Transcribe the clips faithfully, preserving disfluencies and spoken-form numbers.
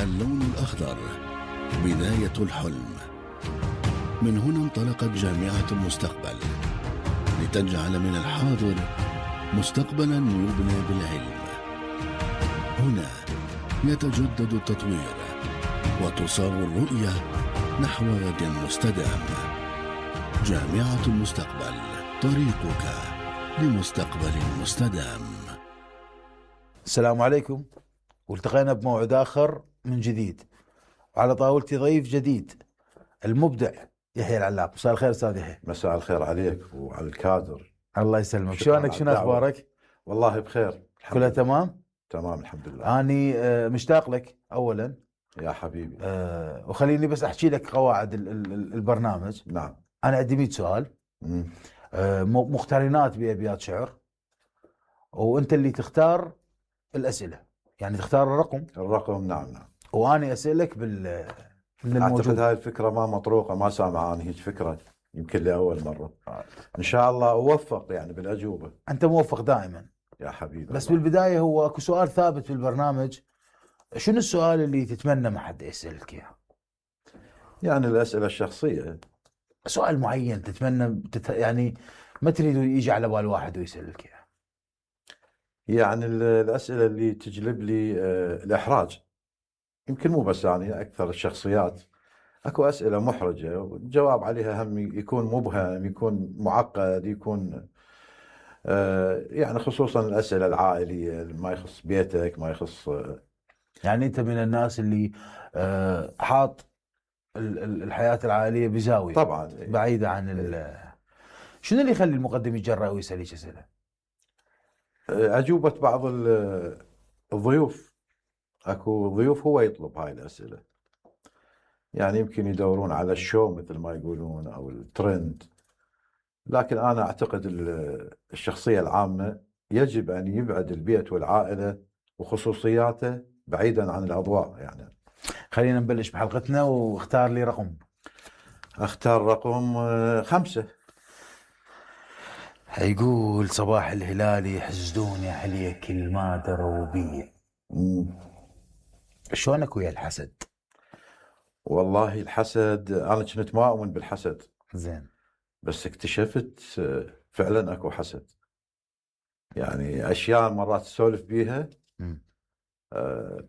اللون الأخضر بداية الحلم. من هنا انطلقت جامعة المستقبل لتجعل من الحاضر مستقبلا يبنى بالعلم. هنا يتجدد التطوير وتصاغ الرؤية نحو غد مستدام. جامعة المستقبل، طريقك لمستقبل مستدام. السلام عليكم، والتقينا بموعد آخر من جديد، وعلى طاولتي ضيف جديد المبدع يحيى العلاق. مساء الخير استاذ يحيى. مساء الخير عليك وعلى الكادر. الله يسلمك. شلونك؟ شنو اخبارك؟ والله بخير، كلها تمام؟ تمام الحمد لله. اني مشتاق لك اولا يا حبيبي. أه وخليني بس احكي لك قواعد البرنامج. نعم. انا عندي مئة سؤال، أه مقترنات بابيات شعر، وانت اللي تختار الاسئله، يعني تختار الرقم. الرقم نعم نعم. واني اسالك بال من الموجود. اعتقد هاي الفكره ما مطروقه، ما سامع عن هيك فكره، يمكن لاول مره. ان شاء الله اوفق يعني بالاجوبه. انت موفق دائما يا حبيبي. بس الله. بالبدايه هو اكو سؤال ثابت في البرنامج، شنو السؤال اللي تتمنى ما حد يسالك اياه؟ يعني الاسئله الشخصيه. سؤال معين تتمنى تت... يعني ما تريد يجي على بال واحد ويسالك اياه. يعني الاسئله اللي تجلب لي الاحراج، يمكن مو بس يعني اكثر الشخصيات اكو اسئله محرجه والجواب عليها هم يكون مبهم، يكون معقد، يكون آه يعني خصوصا الاسئله العائليه ما يخص بيتك، ما يخص آه يعني انت من الناس اللي آه حاط الحياه العائليه بزاويه طبعا بعيده عن ال... شنو اللي يخلي المقدم يتجرأ ويسالك اسئله؟ اجوبه بعض الضيوف، اكو ضيوف هو يطلب هاي الاسئله، يعني يمكن يدورون على الشو مثل ما يقولون او الترند، لكن انا اعتقد الشخصيه العامه يجب ان يبعد البيت والعائله وخصوصياته بعيدا عن الاضواء. يعني خلينا نبلش بحلقتنا، واختار لي رقم. اختار رقم خمسة. يقول صباح الهلالي حسدون يا حليه كل ما دروا بي. شلونك ويا الحسد؟ والله الحسد انا كنت ما اؤمن بالحسد، زين، بس اكتشفت فعلا اكو حسد. يعني اشياء مرات تسولف بيها آه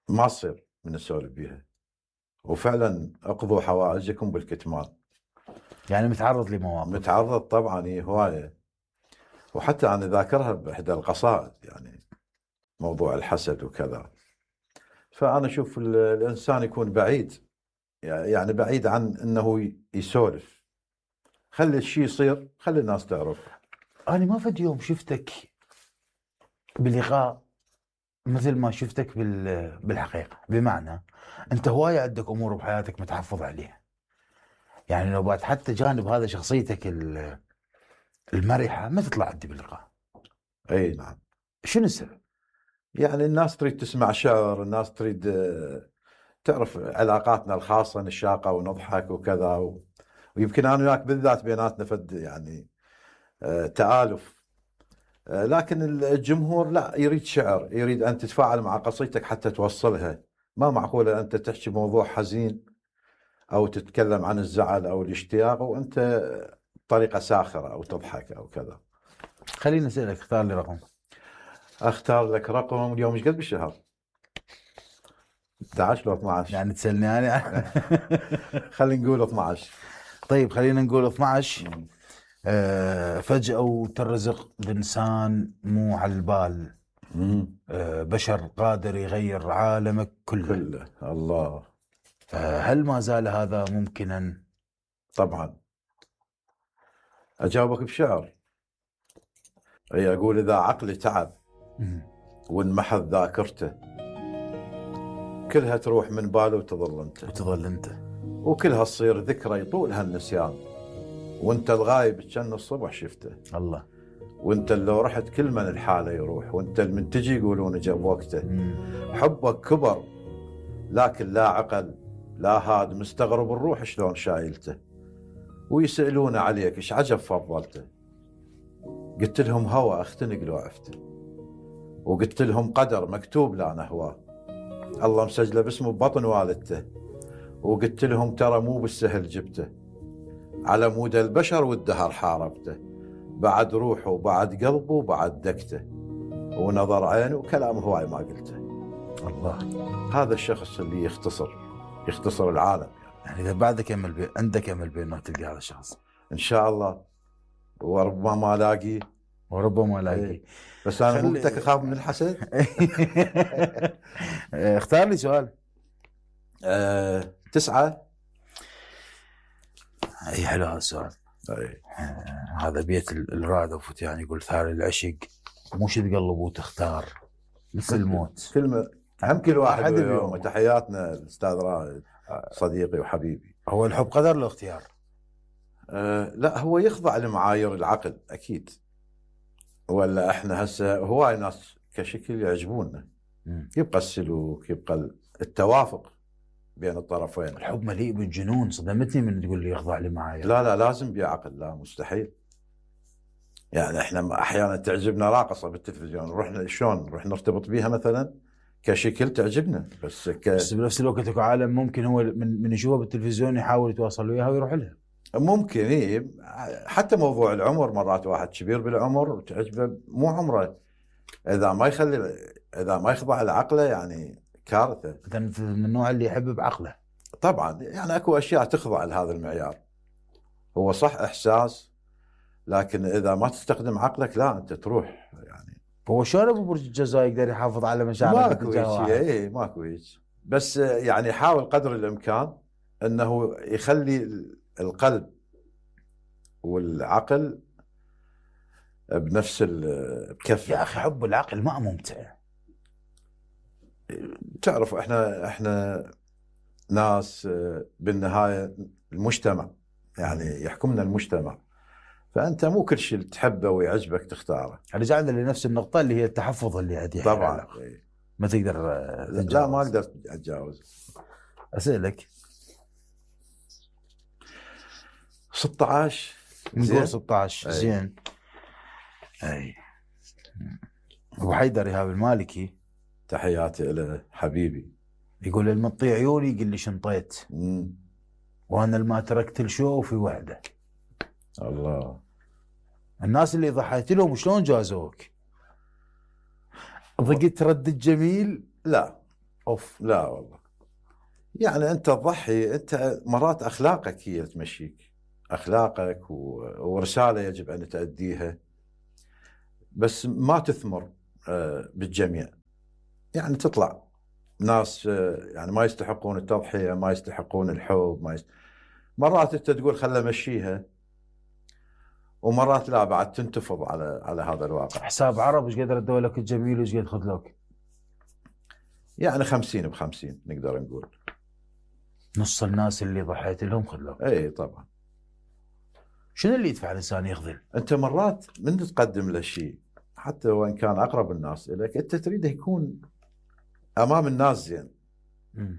ما تصير من السولف بيها، وفعلا اقضوا حوائجكم بالكتمان. يعني متعرض لمواقف؟ متعرض طبعا، هي هوايه، وحتى انا ذاكرها باحدى القصائد، يعني موضوع الحسد وكذا. فانا اشوف الانسان يكون بعيد، يعني بعيد عن انه يسولف، خلي الشيء يصير، خلي الناس تعرف. انا ما فد يوم شفتك بلقاء مثل ما شفتك بالحقيقه، بمعنى انت هوايه عندك امور بحياتك متحفظ عليها، يعني لو بعد حتى جانب هذا شخصيتك المرحه ما تطلع عندي باللقاء. اي نعم. شنو السبب؟ يعني الناس تريد تسمع شعر، الناس تريد تعرف علاقاتنا الخاصه، نشاقه ونضحك وكذا و... ويمكن انا وياك بالذات بيناتنا فد يعني آه تآلف، آه لكن الجمهور لا، يريد شعر، يريد ان تتفاعل مع قصيدتك حتى توصلها. ما معقوله انت تحكي موضوع حزين او تتكلم عن الزعل او الاشتياق وانت بطريقه ساخره او تضحك او كذا. خليني اسالك، اختار لي رقم. اختار لك رقم. اليوم ايش قد بالشهر؟ اثنا عشر لو اثنا عشر؟ يعني تسالني انا؟ خلينا نقول اثنا عشر. طيب خلينا نقول اثنا عشر. آه فجأة وترزق بإنسان مو على البال، آه بشر قادر يغير عالمك كله كله. الله. آه هل ما زال هذا ممكنا؟ طبعا. أجاوبك بشعر، أي أقول إذا عقلي تعب وانمحت ذاكرته، كلها تروح من باله وتظل أنت وتظل أنت وكلها تصير ذكرى يطولها النسيان، وانت الغايب كأن الصبح شفته. الله. وانت اللي رحت كل من الحالة يروح، وانت المن تجي يقولون جاب وقته. مم. حبك كبر لكن لا عقل لا هاد، مستغرب الروح شلون شايلته، ويسألون عليك ايش عجب فضلته. قلت لهم هوى اختنق لو عفته، وقلت لهم قدر مكتوب لا نهواه، الله مسجله باسمه ببطن والدته، وقلت لهم ترى مو بالسهل جبته، على مود البشر والدهر حاربته، بعد روحه وبعد قلبه وبعد دكته، ونظر عينه وكلام هواي ما قلته. الله. هذا الشخص اللي يختصر يختصر العالم يعني. يعني اذا بعدك امل بي... عندك امل بانه تلقى هذا الشخص ان شاء الله، وربما ما الاقي وربما الاقي. بس انا خلي... مو قلت لك اخاف من الحسد. اختار لي سؤال. أه... تسعة. اي حلو هذا السؤال. أي. آه هذا بيت الرائد وفتيان يقول ثار العشق مو شد قلب وتختار مثل الموت. كلمة هم كل واحد أحد اليوم. اليوم. تحياتنا الاستاذ رائد صديقي وحبيبي. هو الحب قدر الاختيار؟ أه لا، هو يخضع لمعايير العقل اكيد، ولا احنا هسه هواي ناس كشكل يعجبوننا. مم. يبقى السلوك، يبقى التوافق بين الطرفين. الحب مليء بالجنون، صدمتني من تقول لي يخضع لمعايير. لا لا لازم بعقل، لا مستحيل. يعني احنا احيانا تعجبنا راقصه بالتلفزيون، نروح شلون نروح نرتبط بيها مثلا كشكل تعجبنا، بس ك... بس بنفس الوقت اكو عالم ممكن هو من من يشوفها بالتلفزيون يحاول يتواصل وياها ويروح لها. ممكن إيه. حتى موضوع العمر، مرات واحد كبير بالعمر وتعجبه مو عمره، اذا ما يخلي اذا ما يخضع لعقله يعني كارثه. انت من النوع اللي يحب بعقله. طبعا يعني اكو اشياء تخضع لهذا المعيار. هو صح احساس، لكن اذا ما تستخدم عقلك لا انت تروح يعني. هو شلون ابو برج الجزاء يقدر يحافظ على مشاعره؟ ماكو شيء، اي ماكو شيء، بس يعني حاول قدر الامكان انه يخلي القلب والعقل بنفس الكفه. يا اخي حب العقل ما ممتع. تعرف احنا احنا ناس بالنهايه المجتمع، يعني يحكمنا المجتمع، فانت مو كل شيء تحبه ويعجبك تختاره. رجعنا لنفس النقطه اللي هي التحفظ اللي عندي. طبعا ما تقدر تتجاوز. لا ما اقدر اتجاوز. اسالك ستة عشر نقول ستة عشر زين. اي ابو حيدر ايهاب المالكي تحياتي له حبيبي، يقول المطي عيوني قل لي شنطيت مم. وانا الما تركت الشو في وحده. الله. الناس اللي ضحيت لهم شلون جازوك؟ ضقت رد الجميل؟ لا اوف لا والله، يعني انت تضحي، انت مرات اخلاقك هي تمشيك، اخلاقك و... ورساله يجب ان تؤديها، بس ما تثمر بالجميع. يعني تطلع ناس يعني ما يستحقون التضحيه، ما يستحقون الحب، ما يست... مرات انت تقول خله مشيها، ومرات لا بعد تنتفض على على هذا الواقع. حساب عرب ايش قد ردوا لك الجميل وايش قد خذلوك؟ يعني خمسين بخمسين نقدر نقول. نص الناس اللي ضحيت لهم خذلوك. اي طبعا. شنو اللي يدفع الانسان يخذل؟ انت مرات من تقدم له شيء حتى وان كان اقرب الناس اليك، انت تريده يكون امام الناس زين. م.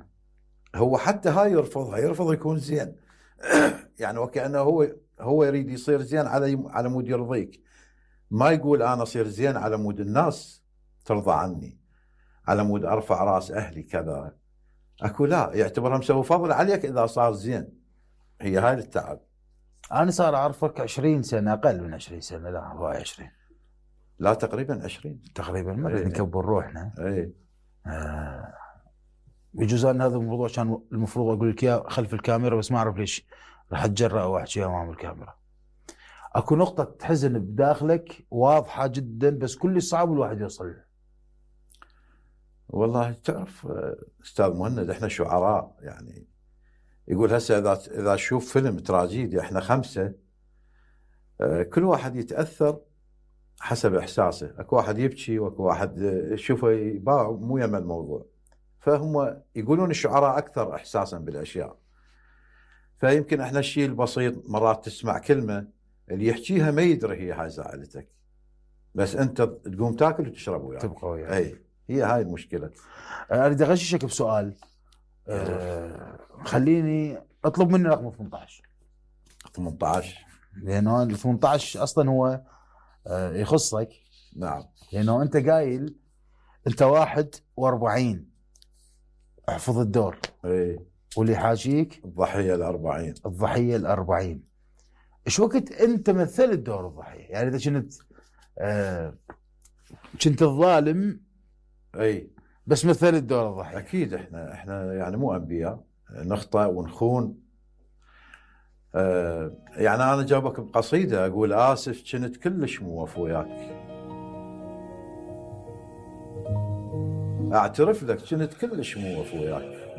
هو حتى هاي يرفضها، يرفض يكون زين. يعني وكأنه هو هو يريد يصير زين على على مود يرضيك، ما يقول انا اصير زين على مود الناس ترضى عني، على مود ارفع راس اهلي كذا. اكو لا، يعتبرها مسوي فضل عليك اذا صار زين. هي هاي التعب. انا صار اعرفك عشرين سنه، اقل من عشرين سنه، لا هو عشرين، لا تقريبا عشرين تقريبا. ما بدنا نكبر روحنا. اي آه. بجوز ان هذا الموضوع كان المفروض اقول لك اياه خلف الكاميرا، بس ما اعرف ليش راح اتجرأ واحكي امام الكاميرا. اكو نقطه تحزن بداخلك واضحه جدا، بس كل صعب الواحد يوصل له. والله تعرف استاذ مهند، احنا شعراء يعني. يقول هسه اذا اذا تشوف فيلم تراجيدي احنا خمسه، كل واحد يتاثر حسب احساسه. اكو واحد يبكي واكو واحد يشوفه يباع مو يم الموضوع. فهم يقولون الشعراء اكثر احساسا بالاشياء. فيمكن احنا الشيء البسيط مرات تسمع كلمه اللي يحكيها ما يدري هي هاي زعلتك، بس انت تقوم تاكل وتشرب وياه تبقى وياه. اي هي هاي المشكله. اريد اغششك بسؤال. أه خليني اطلب مني رقم ثمانية عشر. ثمانية عشر لانه ال ثمانية عشر اصلا هو أه يخصك. نعم. لانه انت قايل انت واحد وأربعين احفظ الدور. اي. واللي حاجيك الضحيه الأربعين. الضحيه الأربعين. ايش وقت انت مثلت دور الضحيه؟ يعني اذا كنت آه كنت الظالم اي بس مثلت دور الضحيه. اكيد احنا احنا يعني مو انبياء، نخطئ ونخون. آه يعني انا جابك بقصيده اقول اسف كنت كلش موف وياك، اعترف لك كنت كلش موف وياك،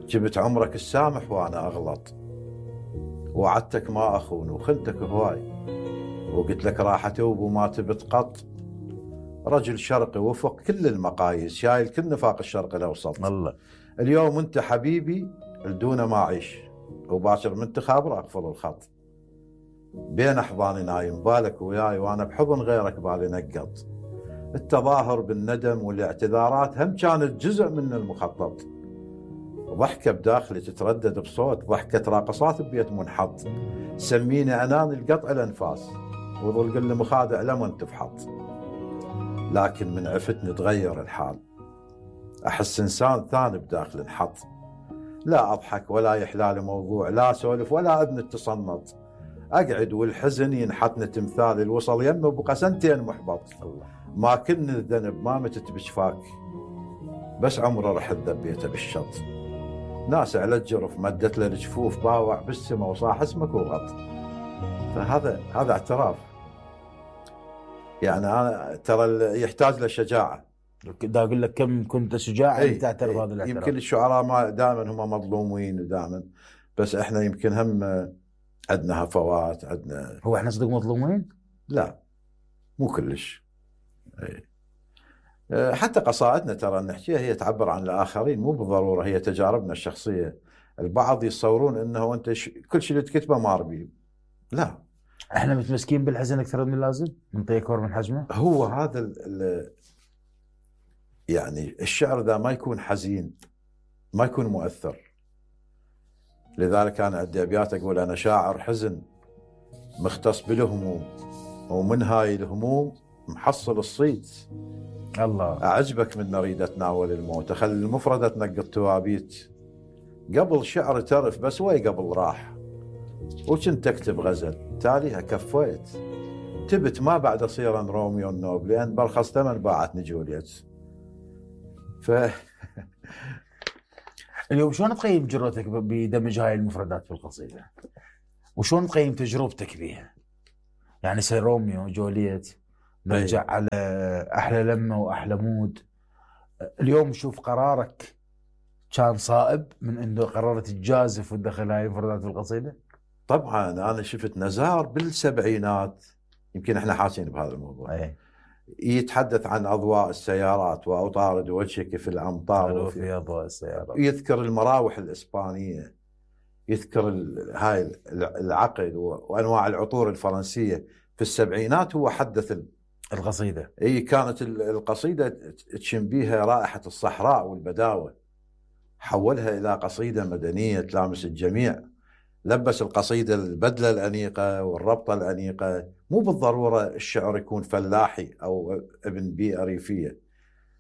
جبت عمرك السامح وانا اغلط، وعدتك ما اخون وخنتك هواي، وقلت لك راح اتوب وما تبت قط، رجل شرقي وفق كل المقاييس، شايل كل نفاق الشرق الاوسط. الله. اليوم انت حبيبي لدون ما اعيش، وباكر من تخابر اقفل الخط، بين احضاني نايم بالك وياي، وانا بحضن غيرك بالي نقط. التظاهر بالندم والاعتذارات هم كانت جزء من المخطط، ضحكه بداخلي تتردد بصوت، ضحكه راقصات ببيت منحط، سميني انان القطع الانفاس، وظل كل مخادع لمن تفحط. لكن من عفتني تغير الحال، احس انسان ثاني بداخل انحط، لا اضحك ولا يحلالي موضوع، لا اسولف ولا اذن التصنط، اقعد والحزن ينحتني تمثال الوصل يمه بقى سنتين محبط. ما كن الذنب ما متت بشفاك، بس عمره رحت ذبيته بالشط، ناس على الجرف مدت له الجفوف، باوع بالسما وصاح اسمك وغط. فهذا هذا اعتراف، يعني انا ترى يحتاج له شجاعه. دا اقول لك كم كنت شجاعا اي تعترف هذا الاعتراف. يمكن الشعراء ما دائما هم مظلومين ودائما، بس احنا يمكن هم عندنا هفوات، عندنا. هو احنا صدق مظلومين؟ لا مو كلش. اي حتى قصائدنا ترى نحكيها هي تعبر عن الاخرين، مو بالضروره هي تجاربنا الشخصيه. البعض يتصورون انه انت ش... كل شيء اللي تكتبه ماربي، لا. احنا متمسكين بالحزن اكثر من اللازم، نعطيه اكبر من حجمه. هو هذا ال... ال... يعني الشعر ذا ما يكون حزين ما يكون مؤثر. لذلك انا عندي ابيات اقول انا شاعر حزن مختص بالهموم، ومن هاي الهموم محصل الصيد. الله. اعجبك من نريد اتناول الموت، اخلي المفردة تنقط توابيت، قبل شعر ترف بس وي قبل راح، وكنت اكتب غزل تاليها كفيت، تبت ما بعد اصير روميو النوب، لان برخص ثمن باعتني جوليت. ف اليوم شلون تقيم جرأتك بدمج هاي المفردات في القصيدة؟ وشلون تقيم تجربتك بيها؟ يعني سير روميو جوليت، نرجع على أحلى لمة وأحلى مود. اليوم شوف قرارك كان صائب من أنه قررت تجازف وتدخل هاي المفردات في القصيدة؟ طبعا أنا شفت نزار بالسبعينات، يمكن احنا حاسين بهذا الموضوع. أي. يتحدث عن أضواء السيارات وأطارد وجهك في الأمطار وفي أضواء السيارات، يذكر المراوح الإسبانية، يذكر هاي العقد وأنواع العطور الفرنسية. في السبعينات هو حدث القصيدة. اي كانت القصيدة تشم بيها رائحة الصحراء والبداوة، حولها إلى قصيدة مدنية تلامس الجميع. لبس القصيدة البدلة الأنيقة والربطة الأنيقة. مو بالضرورة الشعر يكون فلاحي أو ابن بيئة ريفية،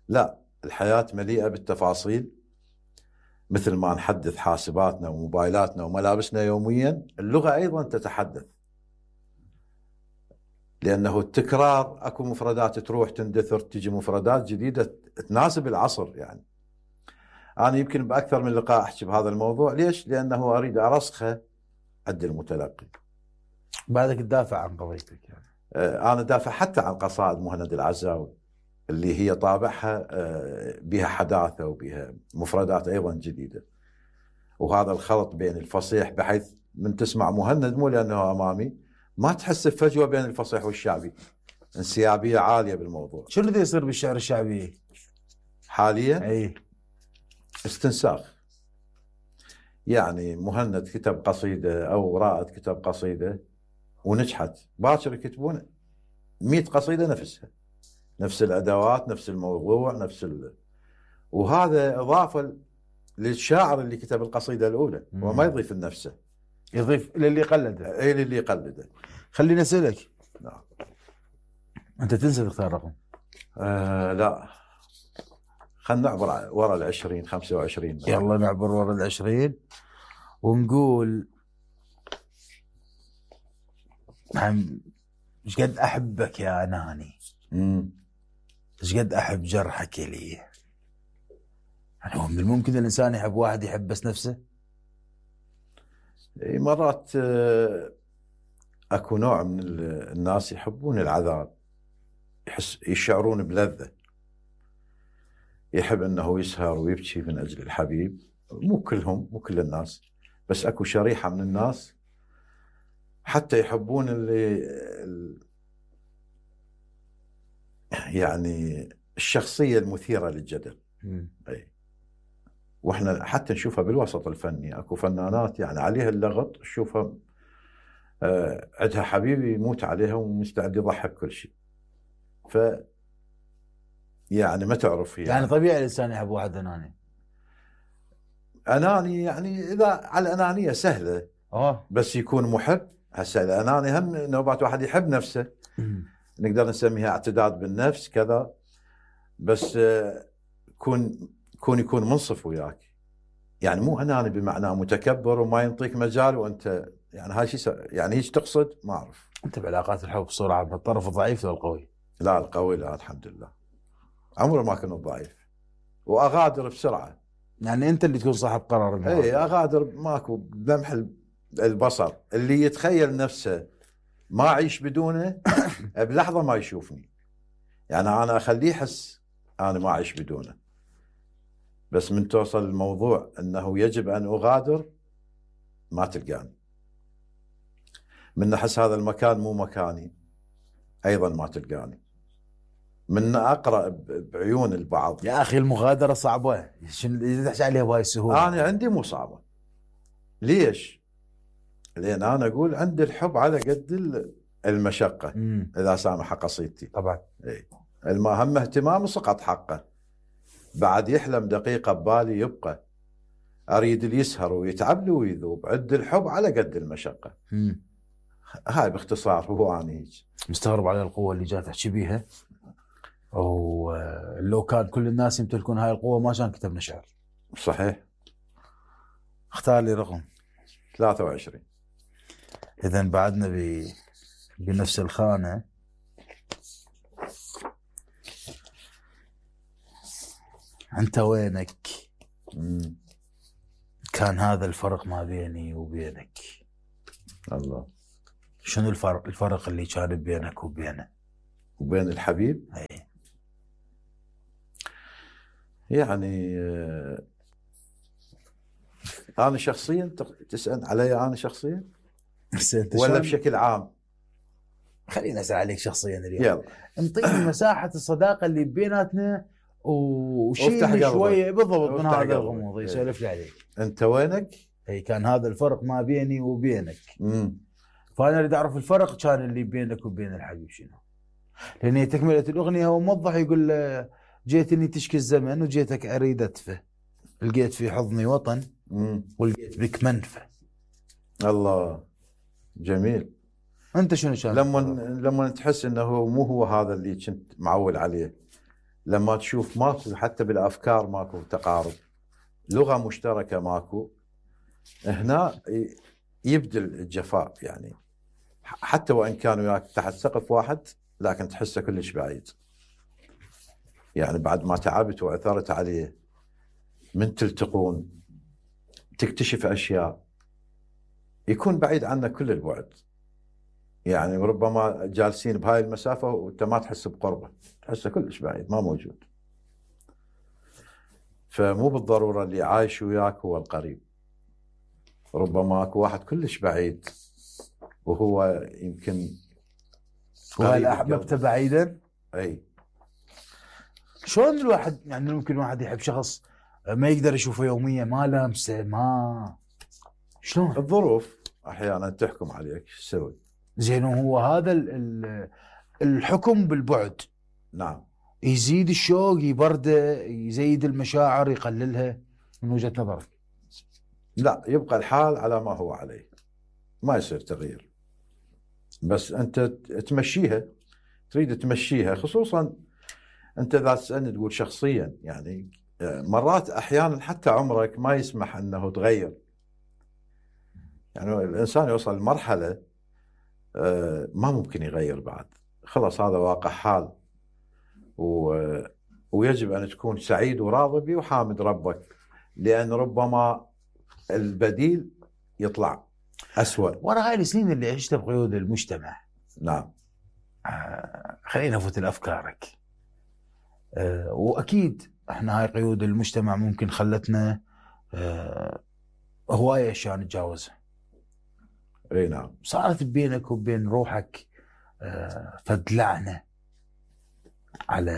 لا، الحياة مليئة بالتفاصيل. مثل ما نحدث حاسباتنا وموبايلاتنا وملابسنا يوميا، اللغة أيضا تتحدث، لأنه التكرار أكو مفردات تروح تندثر، تجي مفردات جديدة تناسب العصر. يعني أنا يمكن بأكثر من لقاء أحكي بهذا الموضوع. ليش؟ لأنه أريد أرسخه عند المتلقي. بعدك تدافع عن قضيتك يعني. أنا دافع حتى عن قصائد مهند العزاوي اللي هي طابعها بها حداثة وبها مفردات أيضا جديدة، وهذا الخلط بين الفصيح، بحيث من تسمع مهند مو لأنه أمامي ما تحس بفجوة بين الفصيح والشعبي، انسيابية عالية بالموضوع. شنو اللي يصير بالشعر الشعبي حاليا؟ اي استنساخ. يعني مهند كتب قصيدة أو رائد كتب قصيدة ونجحت، باكر يكتبون مئة قصيدة نفسها، نفس الأدوات، نفس الموضوع، نفس ال... وهذا إضافة للشاعر اللي كتب القصيدة الأولى، وما يضيف لنفسه، يضيف للي قلده. اي للي يقلده. خليني اسالك، نعم، انت تنسى تختار رقم؟ آه لا خلينا نعبر ورا العشرين خمسة وعشرين. يلا نعبر ورا العشرين ونقول ايش قد احبك يا اناني، ايش قد احب جرحك لي. يعني هو من الممكن الانسان يحب واحد يحب بس نفسه؟ مرات اكو نوع من الناس يحبون العذاب، يحس يشعرون بلذة، يحب انه يسهر ويبكي من اجل الحبيب. مو كلهم، مو كل الناس، بس اكو شريحة من الناس حتى يحبون اللي يعني الشخصية المثيرة للجدل. اي واحنا حتى نشوفها بالوسط الفني، اكو فنانات يعني عليها اللغط، تشوفها آه عندها حبيب يموت عليها ومستعد يضحك كل شيء. ف يعني ما تعرف يعني, يعني طبيعي الانسان يحب واحد اناني. اناني يعني اذا على الانانيه سهله اه بس يكون محب. هسه الاناني هم نوبات واحد يحب نفسه، نقدر نسميها اعتداد بالنفس كذا، بس آه كون كون يكون منصف وياك، يعني مو اناني بمعنى متكبر وما ينطيك مجال وانت يعني هاي شيء يعني ايش تقصد ما اعرف. انت بعلاقات الحب بصوره عامه الطرف الضعيف ولا القوي؟ لا القوي، لا الحمد لله عمره ما كنت ضعيف واغادر بسرعه. يعني انت اللي تكون صاحب قرار. اي اغادر ماكو بلمح البصر، اللي يتخيل نفسه ما اعيش بدونه بلحظه ما يشوفني، يعني انا اخليه يحس انا ما اعيش بدونه، بس من توصل الموضوع انه يجب ان اغادر ما تلقاني. من احس هذا المكان مو مكاني ايضا ما تلقاني. من اقرا بعيون البعض يا اخي المغادره صعبه، شنو تحكي عليها بهاي السهوله؟ انا عندي مو صعبه. ليش؟ لان انا اقول عندي الحب على قد المشقه. مم. اذا سامح قصيدتي طبعا. اي المهم اهتمام سقط حقه، بعد يحلم دقيقه ببالي يبقى، اريد اللي يسهر ويتعب له ويذوب، عد الحب على قد المشقه. مم. هاي باختصار هو انا هيك. مستغرب على القوه اللي جات تحكي بيها، ولو كان كل الناس يمتلكون هاي القوه ما كان كتبنا شعر. صحيح. اختار لي رقم. ثلاثة وعشرين. اذا بعدنا ب... بنفس الخانه. انت وينك؟ مم. كان هذا الفرق ما بيني وبينك. الله. شنو الفرق؟ الفرق اللي كان بينك وبينه وبين الحبيب. اي يعني آه انا شخصيا تسال علي انا شخصيا ولا بشكل عام؟ خليني اسال عليك شخصيا اليوم. يلا انطيني مساحه الصداقه اللي بيناتنا وشيل شويه بالضبط من هذا الغموض يسولف لي عليك. انت وينك؟ اي كان هذا الفرق ما بيني وبينك. امم فانا اريد اعرف الفرق كان اللي بينك وبين الحبيب شنو؟ لان تكمله الاغنيه هو موضح يقول جيتني تشكي الزمن وجيتك اريد ادفه، لقيت في حضني وطن مم. ولقيت بك منفى. الله جميل. انت شنو كان؟ لما لما تحس انه مو هو هذا اللي كنت معول عليه، لما تشوف ماكو حتى بالافكار ماكو تقارب، لغه مشتركه ماكو، هنا يبدل الجفاء. يعني حتى وان كان وياك تحت سقف واحد لكن تحسه كلش بعيد. يعني بعد ما تعبت وعثرت عليه من تلتقون تكتشف اشياء يكون بعيد عنك كل البعد. يعني ربما جالسين بهاي المسافه وانت ما تحس بقربه، تحسه كلش بعيد ما موجود. فمو بالضروره اللي عايش وياك هو القريب، ربما اكو واحد كلش بعيد وهو يمكن وهل احببته بعيدا؟ اي شلون الواحد يعني ممكن واحد يحب شخص ما يقدر يشوفه يوميا، ما لامسه، ما شلون؟ الظروف احيانا تحكم عليك، شو تسوي؟ زين هو هذا الحكم بالبعد. نعم. يزيد الشوق، يبرده، يزيد المشاعر، يقللها من وجهة نظرك؟ لا، يبقى الحال على ما هو عليه، ما يصير تغيير، بس انت تمشيها، تريد تمشيها. خصوصا انت اذا تسالني تقول شخصيا، يعني مرات احيانا حتى عمرك ما يسمح انه تغير. يعني الانسان يوصل لمرحله ما ممكن يغير بعد، خلاص هذا واقع حال، و... ويجب ان تكون سعيد وراضي به وحامد ربك، لان ربما البديل يطلع أسوأ. ورا هاي السنين اللي عشتها بقيود المجتمع، نعم، آه خلينا نفوت لافكارك. آه واكيد احنا هاي قيود المجتمع ممكن خلتنا آه هوايه اشياء نتجاوزها. اي نعم. صارت بينك وبين روحك آه فد لعنه على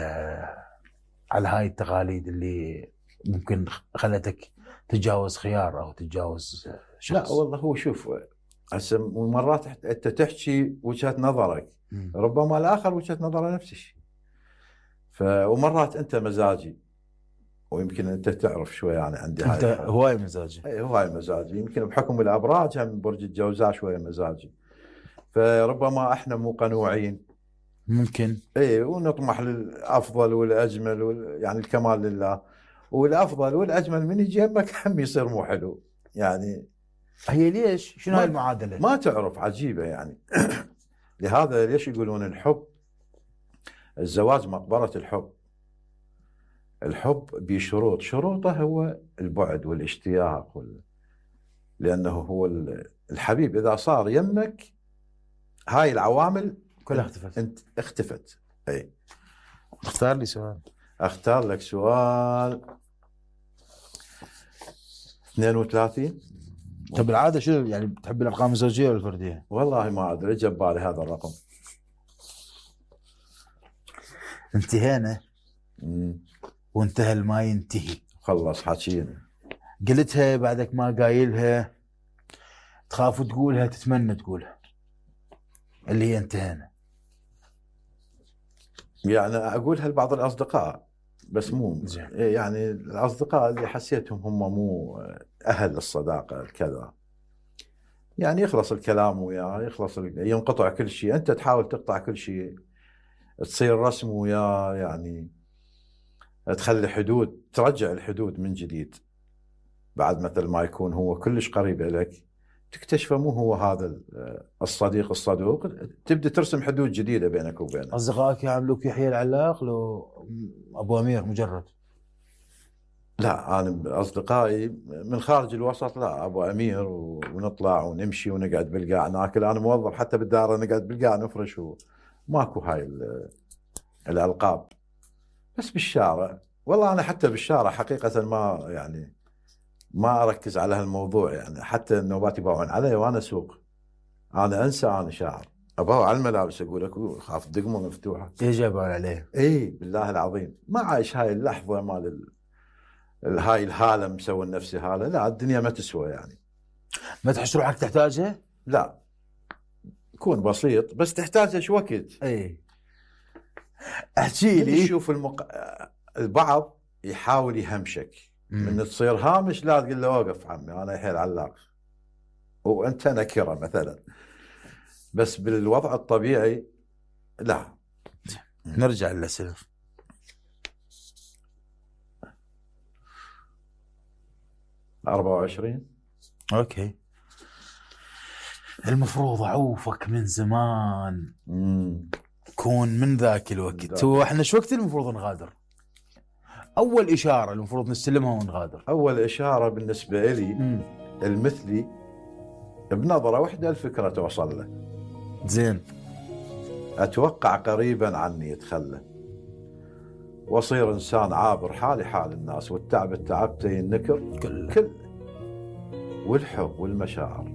على هاي التقاليد اللي ممكن خلتك تتجاوز خيار او تتجاوز شخص؟ لا والله، هو شوف هسه مرات انت تحكي وجهه نظرك، م. ربما الاخر وجهه نظره نفس الشيء. ف ومرات انت مزاجي، ويمكن انت تعرف شوي يعني عندي انت هاي هواي مزاجي. اي هواي مزاجي، يمكن بحكم الابراج هم برج الجوزاء شويه مزاجي، فربما احنا مو قنوعين ممكن اي، ونطمح للافضل والاجمل وال... يعني الكمال لله، والافضل والاجمل من يجي يمك هم يصير مو حلو. يعني هي ليش؟ شنو هاي المعادله؟ ما تعرف، عجيبه يعني. لهذا ليش يقولون الحب، الزواج مقبره الحب. الحب بشروط، شروطه هو البعد والاشتياق وال... لانه هو الحبيب اذا صار يمك هاي العوامل كلها اختفت. انت اختفت. اي اختار لي سؤال. اختار لك سؤال. اثنين وثلاثين. طب العاده شنو يعني، بتحب الارقام الزوجيه ولا الفرديه؟ والله ما ادري، جاب بالي هذا الرقم. انتهينا مم. وانتهى ما ينتهي. خلص حكينا. قلتها بعدك ما قايلها، تخاف تقولها، تتمنى تقولها، اللي هي انتهينا. يعني اقولها لبعض الاصدقاء بس مو زين. يعني الاصدقاء اللي حسيتهم هم مو اهل الصداقه كذا، يعني يخلص الكلام وياه، يخلص ينقطع كل شيء، انت تحاول تقطع كل شيء، تصير رسم وياه، يعني تخلي حدود، ترجع الحدود من جديد. بعد مثل ما يكون هو كلش قريب لك، تكتشفه مو هو هذا الصديق الصدوق، تبدأ ترسم حدود جديدة بينك وبينه. أصدقائك يعاملوك يحيى العلاق لو أبو أمير مجرد؟ لا، أنا أصدقائي من خارج الوسط لا، أبو أمير، ونطلع ونمشي ونقعد بالقاع ناكل. أنا موظف حتى بالدار نقعد بالقاع نفرش، وماكو هاي الألقاب. بس بالشارع، والله أنا حتى بالشارع حقيقة ما يعني ما أركز على هالموضوع، يعني حتى النوبات يباوعون علي وأنا أسوق، أنا أنسى أنا شاعر، أباوع على الملابس أقول لك خاف دقمة مفتوحة. إيش يباوعون عليه؟ إيه بالله العظيم ما عايش هاي اللحظة مال ال... هاي الهالة مسوي نفسي هالة. لا، الدنيا ما تسوى يعني. ما تحس روحك تحتاجها؟ لا، كون بسيط بس تحتاج ايش وقت. اي احكي لي. شوف المق... البعض يحاول يهمشك، من تصير هامش لا تقول له وقف عمي انا يحيى العلاق وانت نكره مثلا، بس بالوضع الطبيعي لا. نرجع للأسئلة. أربعة وعشرين. اوكي. المفروض اعوفك من زمان. امم كون من ذاك الوقت. هو احنا شو وقت المفروض نغادر؟ اول اشاره المفروض نستلمها ونغادر. اول اشاره بالنسبه لي مم. المثلي بنظره واحده الفكره توصل له. زين. اتوقع قريبا عني يتخلى، واصير انسان عابر، حالي حال الناس، والتعب التعبتي النكر كل كل والحب والمشاعر.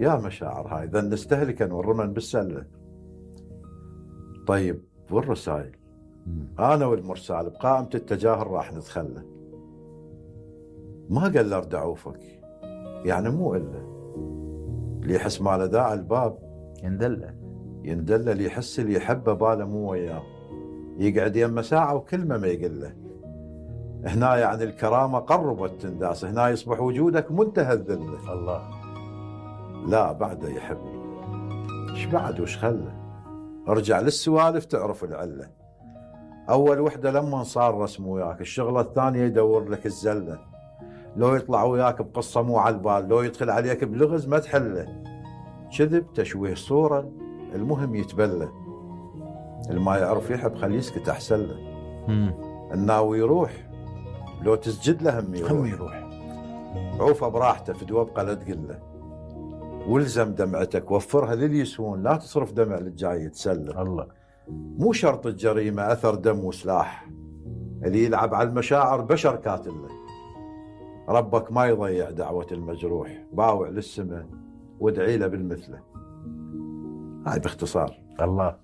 يا مشاعر هاي ذا نستهلكن والرمن بالسله. طيب والرسائل، انا والمرسال بقائمه التجاهل راح نتخلى. ما قال له ارد اعوفك، يعني مو الا اللي يحس ما له داعي الباب يندله يندله، اللي يحس اللي يحبه باله مو وياه، يقعد يمه ساعه وكلمه ما يقول له. هنا يعني الكرامه قربت تنداس، هنا يصبح وجودك منتهى الذله. الله. لا بعده يحبني، ايش بعد وش خله؟ ارجع للسوالف تعرف العله. اول وحده لما صار رسم وياك، الشغله الثانيه يدور لك الزله، لو يطلع وياك بقصه مو على البال، لو يدخل عليك بلغز ما تحله، كذب تشويه صوره، المهم يتبلى. الما يعرف يحب خليه يسكت احسن له. الناوي يروح لو تسجد له هم يروح، هم يروح. عوفه براحته في دوبقه لا تقل له، والزم دمعتك، وفرها للي يسوون، لا تصرف دمع للجاي يتسلى. الله. مو شرط الجريمه اثر دم وسلاح، اللي يلعب على المشاعر بشر كاتله. ربك ما يضيع دعوه المجروح، باوع للسماء وادعي له بالمثله. هاي باختصار. الله.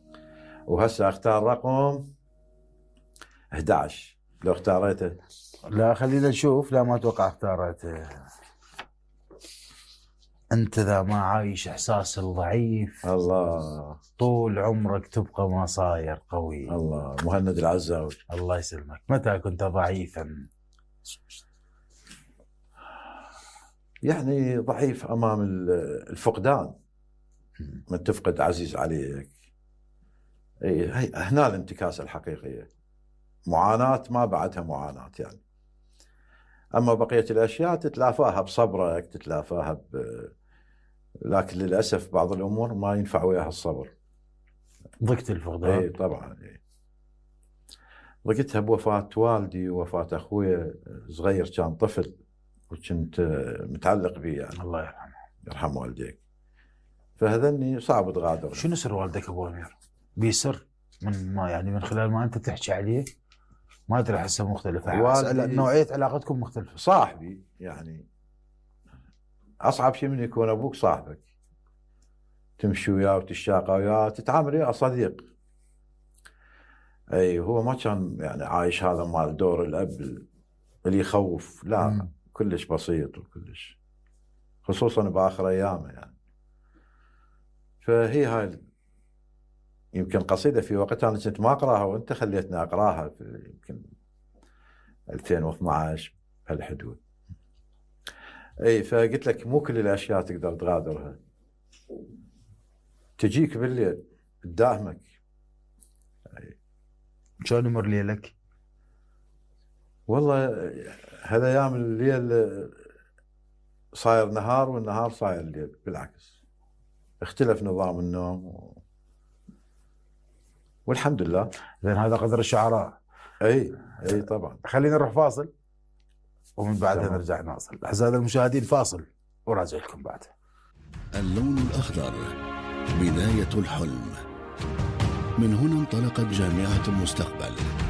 وهسه اختار رقم احد عشر لو اختاريته. لا خلينا نشوف، لا ما اتوقع اختارته. انت ذا ما عايش احساس الضعيف، الله طول عمرك تبقى ما صاير قوي. الله. مهند العزاوي. الله يسلمك. متى كنت ضعيفا؟ يعني ضعيف امام الفقدان، من تفقد عزيز عليك. اي هي هنا الانتكاسه الحقيقيه. معاناه ما بعدها معاناه يعني. اما بقيه الاشياء تتلافاها بصبرك، تتلافاها ب... لكن للاسف بعض الامور ما ينفع وياها الصبر. ضقت الفقدان؟ اي طبعا. اي ضقتها بوفاه والدي ووفاه اخوي صغير، كان طفل وكنت متعلق به يعني. الله يرحمه. يرحم والديك. فهذني صعب تغادر. شنو سر والدك ابو امير؟ بيسر من ما يعني من خلال ما انت تحكي عليه ما ادري، احسه مختلف. نوعيه علاقتكم مختلفه. صاحبي يعني، اصعب شيء من يكون ابوك صاحبك، تمشي وياه وتشاقى وياه، تتعامل وياه صديق. اي هو ما كان يعني عايش هذا مال دور الاب اللي يخوف، لا. م. كلش بسيط وكلش، خصوصا باخر ايامه يعني. فهي هاي يمكن قصيده في وقتها انا كنت ما اقراها وانت خليتني اقراها في يمكن ألفين واثنعش بهالحدود. اي فقلت لك مو كل الاشياء تقدر تغادرها، تجيك بالليل تداهمك. شلون يمر ليلك؟ والله هذا ايام الليل صاير نهار والنهار صاير ليل، بالعكس اختلف نظام النوم و... والحمد لله. لان هذا قدر الشعراء. اي اي طبعا. خلينا نروح فاصل ومن بعدها نرجع نواصل. اعزائي المشاهدين فاصل وراجع لكم بعد. اللون الأخضر بداية الحلم. من هنا انطلقت جامعة المستقبل